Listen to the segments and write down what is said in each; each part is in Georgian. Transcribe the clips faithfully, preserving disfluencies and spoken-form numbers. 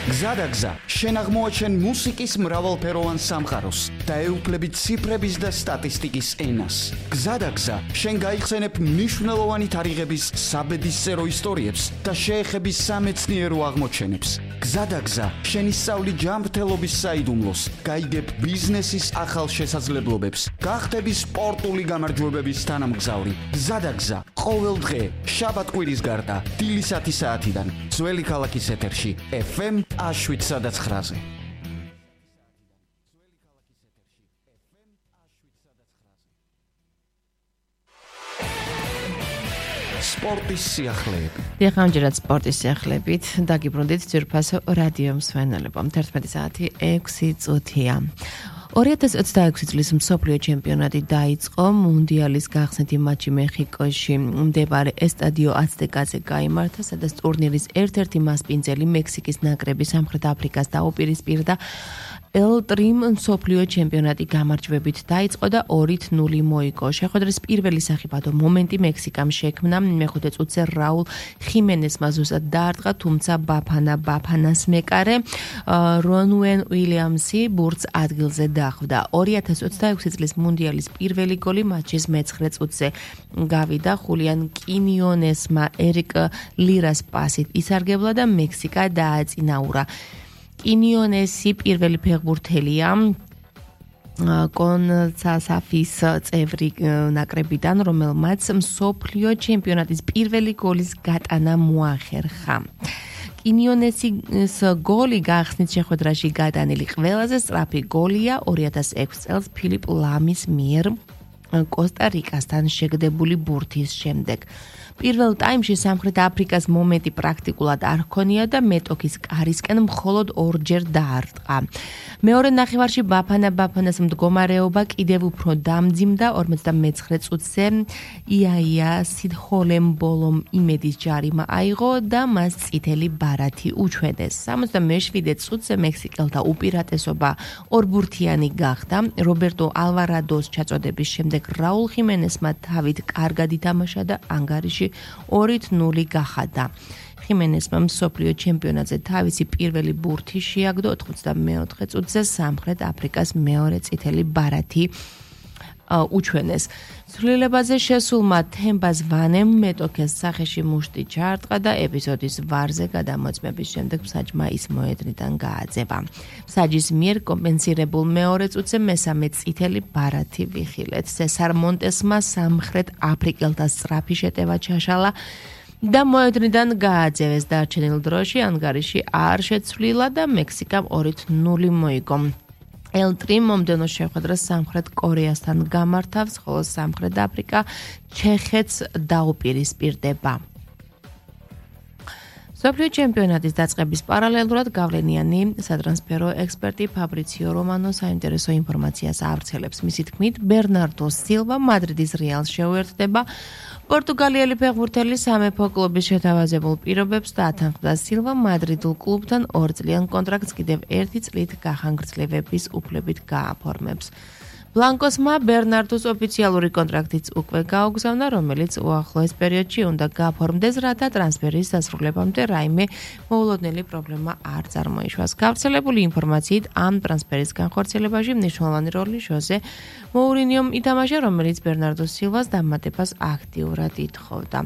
გზადაგზა, შენ აღმოაჩენ მუსიკის მრავალფეროვან სამყაროს და ეუფლები ციფრების და სტატისტიკის ენას. გზადაგზა, შენ გაიხსენებ მნიშვნელოვანი თარიღების საბედისწერო ისტორიებს და შეეხები სამეცნიერო აღმოჩენებს. გზადაგზა, შენ ისწავლი ჯანმრთელობის საიდუმლოს, გაიგებ ბიზნესის ახალ შესაძლებლობებს, გახდები სპორტული გამარჯვებების თანამგზავრი. გზადაგზა, ყოველ დღე, შაბათ-კვირის გარდა, დილისათი საათიდან, ძველი ქალაქის ეთერში, ეფ ემ შვიდსა და ცხრაზე. სპორტის სიახლეები. დიახამჯერად სპორტის სიახლეებით დაგიბრუნდით ძვირფასო რადიო მსვენელებო. თერთმეტი საათი ექვსი წუთია. ორი ათას ოცდაექვსი წლის მსოფლიო ჩემპიონატი დაიწყო. მუნდიალის გახსნითი მატჩი მეხიკოში მდებარე ესტადიო აცტეკაზე გაიმართა, სადაც ტურნირის ერთ-ერთი მასპინძელი მექსიკის ნაკრები სამხრეთ აფრიკას დაუპირისპირდა. ელ ტრიმ მსოფლიო ჩემპიონატი გამარჯვებით დაიწყო და ორით ნული მოიგო. შეხვედრის პირველი სახიფათო მომენტი მექსიკამ შექმნა. მეხუთე წუთზე რაულ ხიმენესმა ზუსტად დაარტყა, თუმცა ბაფანა ბაფანას მეკარე რონუენ უილიამსი ბურთს ადგილზე დახვდა. ორი ათას ოცდაექვსი წლის მუნდიალის პირველი გოლი მატჩის მეცხრე წუთზე გავიდა. ხულიან კინიონესმა ერიკ ლირას პასით ისარგებლა და მექსიკა დააწინაურა. კინიონესი პირველი ფეხბურთელია კონსასაფის წევრი ნაკრებიდან, რომელმაც მსოფლიო ჩემპიონატის პირველი გოლის გატანა მოახერხა. კინიონესის გოლი გახსნით შეხვედრაში გადანილი ყველაზე სწრაფი გოლია ორი ათას ექვსი წელს ფილიპ ლამის მიერ კოსტა-რიკასთან შეგდებული ბურთის შემდეგ. პირველ ტაიმში სამხრეთ აფრიკას მომენტი პრაქტიკულად არ ჰქონია და მეტოქის კარისკენ მხოლოდ ორჯერ დაარტყა. მეორე ნახევარში ბაფანა ბაფანას მდგომარეობა კიდევ უფრო დამძიმდა. ორმოცდამეცხრე წუთზე იაია სიდჰოლემბოლომ იმედის ჯარიმა აიღო და მას წითელი ბარათი უჩვენეს. სამოცდამეშვიდე წუთზე მექსიკელთა უპირატესობა ორბურთიანი გახდა. რობერტო ალვარადოს ჩაწოდების შემდეგ რაულ ხიმენესმა თავით კარგად ითამაშა და ანგარიში ორით ნული გახადა. ხიმენესმა მსოფლიო ჩემპიონატზე თავისი პირველი ბურთი შეაგდო. ოთხმოცდამეოთხე წუთზე სამხრეთ აფრიკას მეორე წითელი ბარათი უჩვენეს. ცვლილებაზე შესულმა თემბას ვანემ მეტოქეს სახეში მუშტი ჩაარტყა და ეპიზოდის ვარზე გადამოწმების შემდეგ მსაჯმა ის მოედნიდან გააძევა. მსაჯის მიერ კომპენსირებულ მეორე წუთზე მესამე წითელი ბარათი ვიხილეთ. სესარ მონტესმა სამხრეთ აფრიკელთა სწრაფი შეტევა ჩაშალა და მოედნიდან გააძევეს. დარჩენილ დროში ანგარიში არ შეცვლილა და მექსიკამ ორით ნული მოიგო. ელ ტრიმ მომდევნო შეხვედრას სამხრეთ კორეასთან გამართავს, ხოლო სამხრეთ აფრიკა ჩეხეთს დაუპირისპირდება. მსოფლიო ჩემპიონატის დაწყების პარალელურად გავლენიანი სატრანსფერო ექსპერტი ფაბრიციო რომანო საინტერესო ინფორმაციას ავრცელებს. მისი თქმით, ბერნარდო სილვა მადრიდის რეალს შეუერთდება. პორტუგალიელი ფეხბურთელი სამეფო კლუბის შეთავაზებულ პირობებს დაათანხმდა. სილვა მადრიდულ კლუბთან ორწლიან კონტრაქტს კიდევ ერთი წლით გახანგრძლივების უფლებით გააფორმებს. ბლანკოსმა ბერნარდოს ოფიციალური კონტრაქტიც უკვე გაუგზავნა, რომელიც უახლოეს პერიოდში უნდა გააფორმდეს, რათა ტრანსფერის დასრულებამდე რაიმე მოულოდნელი პრობლემა არ წარმოიშვას. გავრცელებული ინფორმაციით ამ ტრანსფერის განხორციელებაში მნიშვნელოვანი როლი ჟოზე მოურინიომ ითამაშა, რომელიც ბერნარდო სილვას დამატებას აქტიურად ითხოვდა.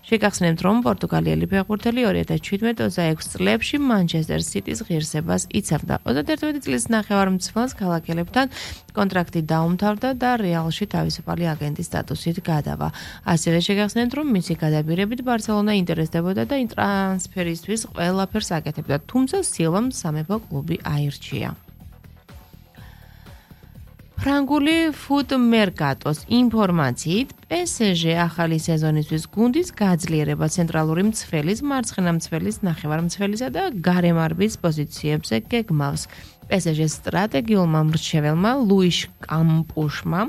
შეგახსენებთ, რომ პორტუგალიელი ფეხბურთელი ორი ათას შვიდმეტ ოცდაექვსი წლებში მანჩესტერ სიტის ღირსებას იცავდა. ოცდაერთმეტი წლის ნახევარმცველს ქალაქელებთან კონტრაქტი დაუმთავრდა და რეალში თავისუფალი აგენტის სტატუსით გადავა. ასევე შეგახსენებთ, რომ მისი გადაბირებით ბარსელონა ინტერესდებოდა და ტრანსფერისთვის ყველაფერს აკეთებდა, თუმცა სილვამ სამეფო კლუბი აირჩია. ფრანგული ფუტ მერკატოს ინფორმაციით, პე ეს ჟე ახალი სეზონისთვის გუნდის გაძლიერება ცენტრალური მცველის, მარცხენა მცველის, ნახევარმცველისა და გარემარბის პოზიციებზე გეგმავს. პე ეს ჟე სტრატეგიულმა მრჩეველმა ლუიშ კამპუშმა